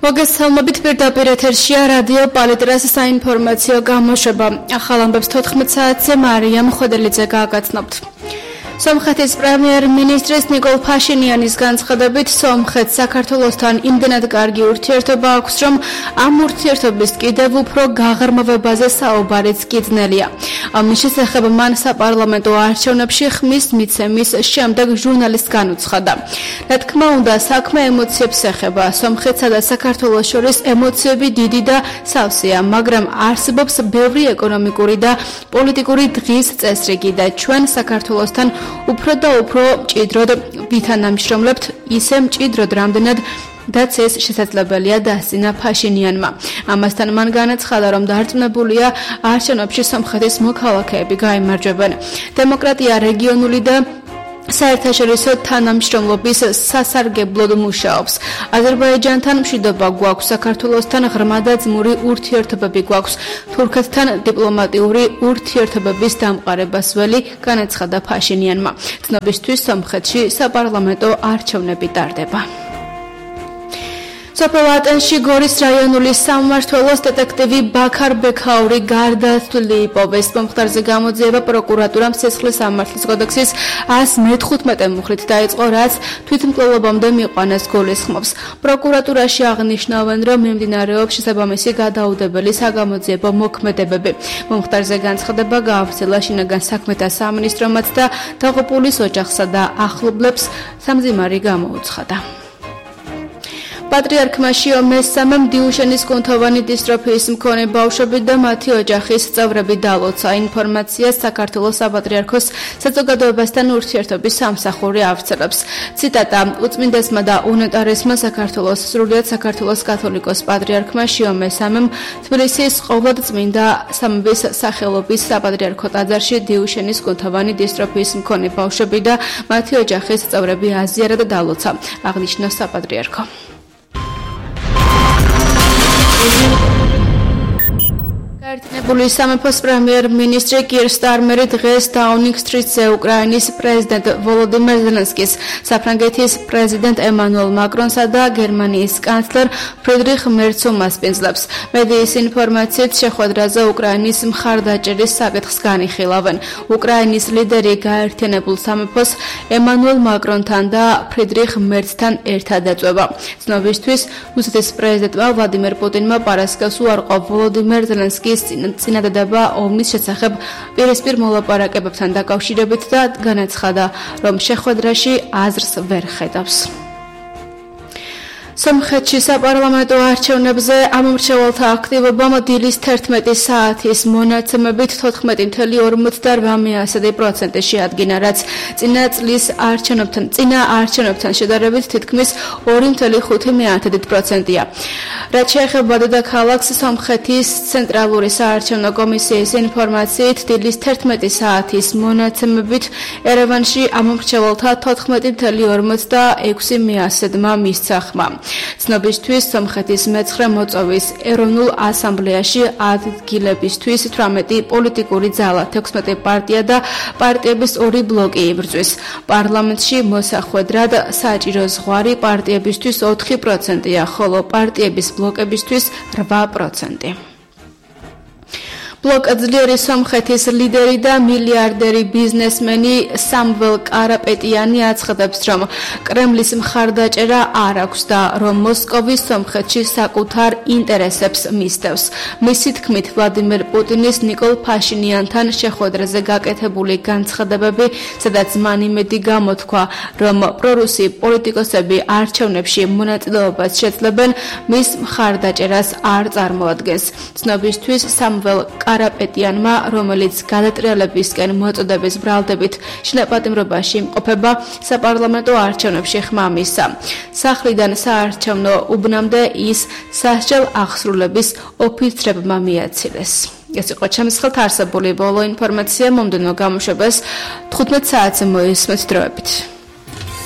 მოგესალმებით პირდაპირ ეთერშია რადიო პალიტრას საინფორმაციო გამოშვება. ახალ ამბებს 14 საათზე მარია მხვედელიძე გააგაცნობთ. სომხეთის პრემიერ-მინისტრის ნიკოლ ფაშინიანის განცხადებით, სომხეთს საქართველოსთან იმდენად კარგი ურთიერთობა აქვს, რომ ამ ურთიერთობის კიდევ უფრო გაღრმავებაზე საუბარიც გიძნელია. ამის შესახებ მან საპარლამენტო არჩევნებში ხმის მიცემის შემდეგ ჟურნალისტს განუცხადა. რა თქმა უნდა, საქმე ემოციებს ეხება. სომხეთსა და საქართველოს შორის ემოციები დიდი და სავსეა, მაგრამ არსებობს ბევრი ეკონომიკური და პოლიტიკური დღის წესრიგი და ჩვენ საქართველოსთან უფრო და უფრო მჭიდროდ ვითანამშრომლებთ, ისე მჭიდროდ რამდენად რაც ეს შესაძლებელია დასწინა ფაშინიანმა. ამასთან მან განაცხადა, რომ დარწმუნებულია არჩევნებში სომხეთის მოქალაქეები გაიმარჯვებენ. დემოკრატია რეგიონული და საერთაშორისო თანამშრომლობის სასარგებლოდ მუშაობს. აზერბაიჯანთან მშვიდობა გვაქვს, საქართველოსთან ღრმა და ძმური ურთიერთობები გვაქვს, თურქეთთან დიპლომატიური ურთიერთობების დამყარებას ველი, განაცხადა ფაშინიანმა. ცნობისთვის სომხეთში საპარლამენტო არჩევნები ტარდება. სოფელ ატენში გორის რაიონული სამმართველოს დეტექტივი ბაქარ ბექაური გარდაცვლილი იპოვეს. მომხდარზე გამოძიება პროკურატურამ სისხლის სამართლის კოდექსის 115 მუხლით დაიწყო, რაც თვითმკვლელობამდე მიყვანეს გულისხმობს. პროკურატურაში აღნიშნავენ, რომ მიმდინარეობს შესაბამისი გადაუდებელი საგამოძიებო მოქმედებები. მომხდარზე განცხადება გაავრცელა შინაგან საქმეთა სამინისტრომაც და დაღუპულის ოჯახსა და ახლობლებს სამძიმარი გამოუცხადა. პატრიარქმა შიო მესამემ დიუშენის კუნთოვანი დისტროფიის მქონე ბავშვები და მათი ოჯახის წევრები დალოცა. ინფორმაციას საქართველოს საპატრიარქოს საზოგადოებასთან ურთიერთობის სამსახური ავრცელებს. ციტატა: უწმინდესმა და უნეტარესმა საქართველოს სრულიად საქართველოს კათოლიკოს პატრიარქმა შიო მესამემ თბილისის ყოვლადწმინდა სამების სახელობის საპატრიარქო ტაძარში დიუშენის კუნთოვანი დისტროფიის მქონე ბავშვები და მათი ოჯახის წევრები აზიარად დალოცა, აღნიშნა საპატრიარქო. გაერთიანებული სამეფოს პრემიერ-მინისტრი კირ სტარმერი დღეს დაუნინგ-სტრიტზე უკრაინის პრეზიდენტ ვოლოდიმირ ზელენსკის, საფრანგეთის პრეზიდენტ ემანუელ მაკრონსა და გერმანიის კანცლერ ფრიდრიხ მერცს უმასპინძლებს. მედიის ინფორმაციით შეხვედრაზე უკრაინის მხარდაჭერის საკითხს განიხილავენ. უკრაინის ლიდერი გაერთიანებულ სამეფოს ემანუელ მაკრონთან და ფრიდრიხ მერცთან ერთად ეწვევა. ცნობისთვის, რუსეთის პრეზიდენტმა ვლადიმერ პუტინმა პარასკევს უარყო ვოლოდიმირ ზელენსკის წინადადება ომის შესახებ პირისპირ მოლაპარაკებებთან დაკავშირებით და განაცხადა, რომ შეხვედრაში აზრს ვერ ხედავს. სომხეთში საპარლამენტო არჩევნებზე ამომრჩეველთა აქტივობამ დილის 11 საათის მონაცემებით 14.48% შეადგინა, რაც წინა არჩევნებთან შედარებით თითქმის 2.5%-ია. რაც შეეხება დედაქალაქს, სომხეთის ცენტრალური საარჩევნო კომისიის ინფორმაციით დილის 11 საათის მონაცემებით ერევანში ამომრჩეველთა 14.46%-მა მისცა ხმა. ცნობისთვის, სომხეთის მე-9 მოწვევის ეროვნულ ასამბლეაში ადგილებისთვის 18 პოლიტიკური ძალა, 16 პარტია და პარტიების 2 ბლოკი იბრძვის. პარლამენტში მოსახვედრად საჭირო ზღვარი პარტიებისთვის 4%-ია, ხოლო პარტიების ბლოკებისთვის 8%. ბლოკ ძლიერი სომხეთის ლიდერი და მილიარდერი ბიზნესმენი სამվել კარაპეტიანი აცხადებს, რომ კრემლის მხარდაჭერა არ აქვს და რომ მოსკოვი სომხეთში საკუთარ ინტერესებს მისდევს. მისი თქმით, ვლადიმერ პუტინის ნიკოლ ფაშინიანთან შეხვედრაზე გაკეთებული განცხადებები, სადაც მან იმედი გამოთქვა, რომ პრორუსი პოლიტიკოსები არჩევნებში მონაწილეობას შეძლებენ, მის მხარდაჭერას არ წარმოადგენს. ცნობისთვის, სამվել კარაპეტიანმა, რომელიც გადატრიალებისკენ მოწოდების ბრალდებით შინაპატიმრობაში იმყოფება, საპარლამენტო არჩევნებში ხმა მისცა. სახლიდან საარჩევნო უბნამდე ის სასჯელ აღსრულების ოფიცრებმა მიაცილეს. ეს იყო ჩემს ხელთ არსებული ბოლო ინფორმაცია. მომდევნო გამოშვებას 15 საათზე მოისმენთ დროებით.